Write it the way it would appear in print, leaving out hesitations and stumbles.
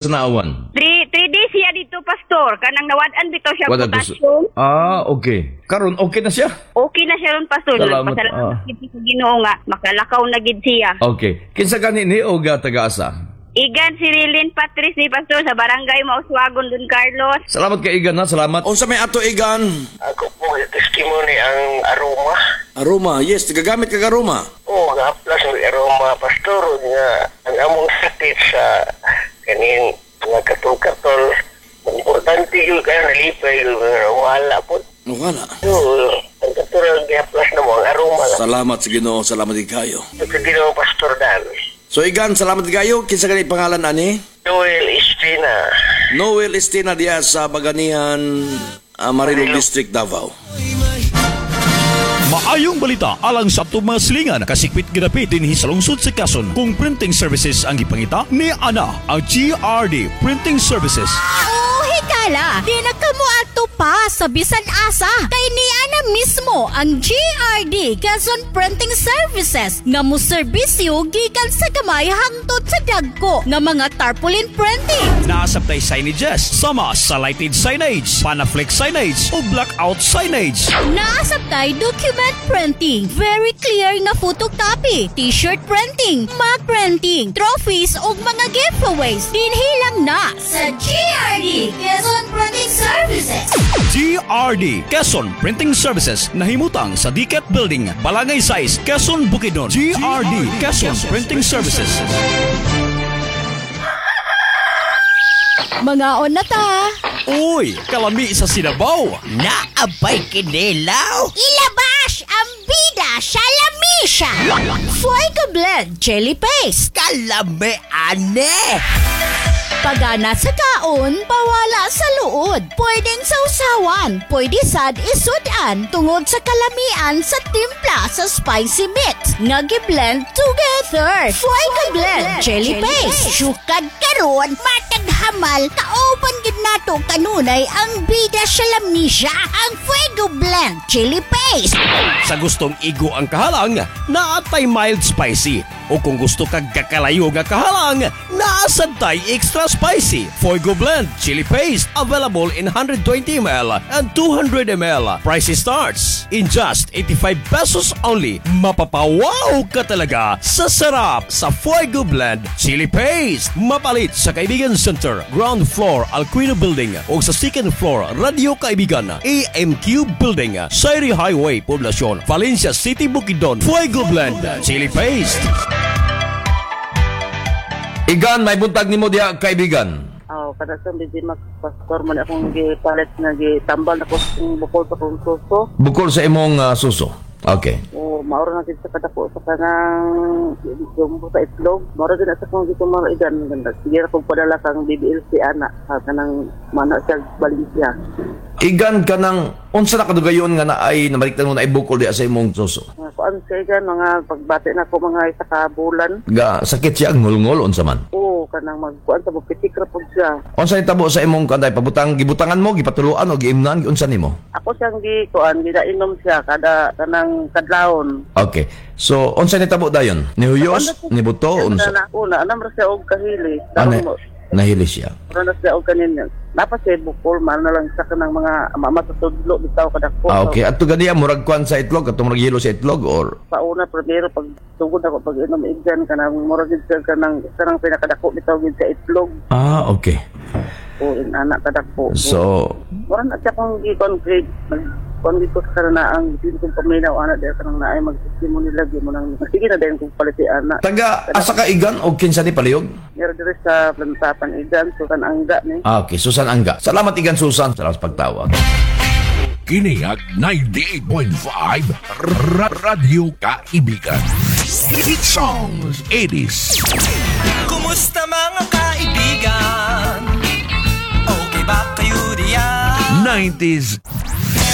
Sa naawan? 3 days siya dito, Pastor. Kanang nawad-an bitaw siya Wala gusto. potassium. Ah, okay. Karon okay na siya? Okay na siya ron, Pastor. Salamat, Nagpasalamat gid sa Ginoo nga makalakaw na gid siya. Okay. Kinsa gani ni og taga-asa? Igan si Rilin Patrice ni Pastor sa Barangay Mauswagon, Don Carlos. Salamat kay Igan ha, salamat. Unsa may ato, Igan? Ako po, testimony ang aroma. Aroma, yes, gagamit kag aroma. Oo, gahaplas ang aroma, Pastor. Nga, ang among sakit sa kaning mga katol-katol. Importante yun kaya nalipay yun. Wala po. Wala. So, ang katulad gahaplas na mo, ang aroma lang. Salamat sa Ginoo, salamat din kayo. Sa Ginoo, Pastor Dan. So Igan, salamat kayo. Kinsa gani pangalan ani? Noel Espina. Noel Estina diya sa Baganihan, Marilog District, Davao. Maayong balita alang sa atong mga silingan kasikwit gidapit dinhi sa lungsod sa Quezon. Kung printing services ang gipangita ni ana ang GRD Printing Services. Oh, higala! Di na kamo ato pa sa bisan asa. Kay ni ana mismo ang GRD Quezon Printing Services nga mo serbisyo gikan sa gamay hangtod sa dagko nga mga tarpaulin printing. Naasabtay signages sama sa lighted signage, panaflex signage o blackout signage. Naasabtay document printing, very clear nga photocopy, t-shirt printing, mug printing, trophies ug mga giveaways. Dinhi lang na sa GRD Quezon Printing Services. GRD Quezon Printing Services nahimutang sa DCAT Building, Balangay 6, Quezon, Bukidnon. GRD Quezon Printing Services. Mangaon na ta. Uy, kalami sa sinabaw. Naabay kinilaw. Ilabas ang bida sa lamisa. Fuego Blend Jelly Paste. Kalami ane. Pagana sa kaon, pawala sa luod. Pwedeng sausawan, pwede sad isudan tungod sa kalamian sa timpla sa spicy mix nga gi-blend together. Fuego Blend Jelly Paste. Sukad karon, matag hamal, kauban gid nato kanunay ang bida sa lamisa, ang Fuego Blend Chili Paste. Sa gustong igo ang kahalang, naatay mild spicy. O kung gusto kag kakalayo nga kahalang, naasad tay extra spicy. Fuego Blend Chili Paste available in 120 ml and 200 ml. Price starts in just 85 pesos only. Mapapawaw ka talaga sa sarap sa Fuego Blend Chili Paste. Mapalit sa Kaibigan Center, ground floor, Alquino Building o sa second floor, Radio Kaibigan, AMQ Building, Sayri Highway, Poblacion, Valencia City, Bukidnon. Fuego Blend Chili Paste. Igan, may buntag nimo diha, kaibigan. Oh, kada sa busy mag Pastor man akong gipalit nga gitambal na ko sa bukol sa akong suso. Bukol sa imong suso. Okay. O mauro na gid sa kadako sa kanang jumbo sa itlog. Mauro din sa akong gitumal igan ganda. Sige ra kong padala kang BBLC ana sa kanang mana sa Valencia. Igan, kanang unsa na kadugayon nga naay nabaliktan mo na ay bukol diha sa imong suso? Mga kuan sa igan mga pagbati na ko mga isa ka bulan. Ga sakit siya ngulngol unsa man? O kanang magkuan sa pitik ra pud siya. Unsa nitabo sa imong kanday pabutang gibutangan mo, gipatuluan o giimnan, unsa nimo? Ako siyang gi kuan gidainom siya kada kanang kadlawon. Okay. So unsa nitabo dayon? Nihuyos, nibuto, unsa? Na una, anam ra siya og kahili. Ano? Daron mo Nahili siya. Mura na siya og kanin. Napa siya bukol man na lang sa kanang mga matutudlo bitaw kadako. Ah, okay. At ganiya murag kuan sa itlog, atong murag yelo sa itlog or Pauna primero pag tugod ako pag inom igdan kanang mura gid siya kanang pinakadako bitaw gid sa itlog. Ah, okay. O in ana kadako. So mura na siya kung gi-concrete nag kon dito sa kanang ang din kong paminaw ana dahil kanang naay mag-testimony lagi mo nang sige na dahil kung paliti ana. Taga asa ka, Igan, o kinsa ni palihog? Meron diri sa Plantapan igan, Susan Angga ni. Ah, okay, Susan Angga. Salamat, Igan Susan. Salamat sa pagtawag. Kini ang 98.5 Radyo Kaibigan. Hit Songs 80s. Kumusta mga kaibigan? Okay ba kayo diyan? 90s.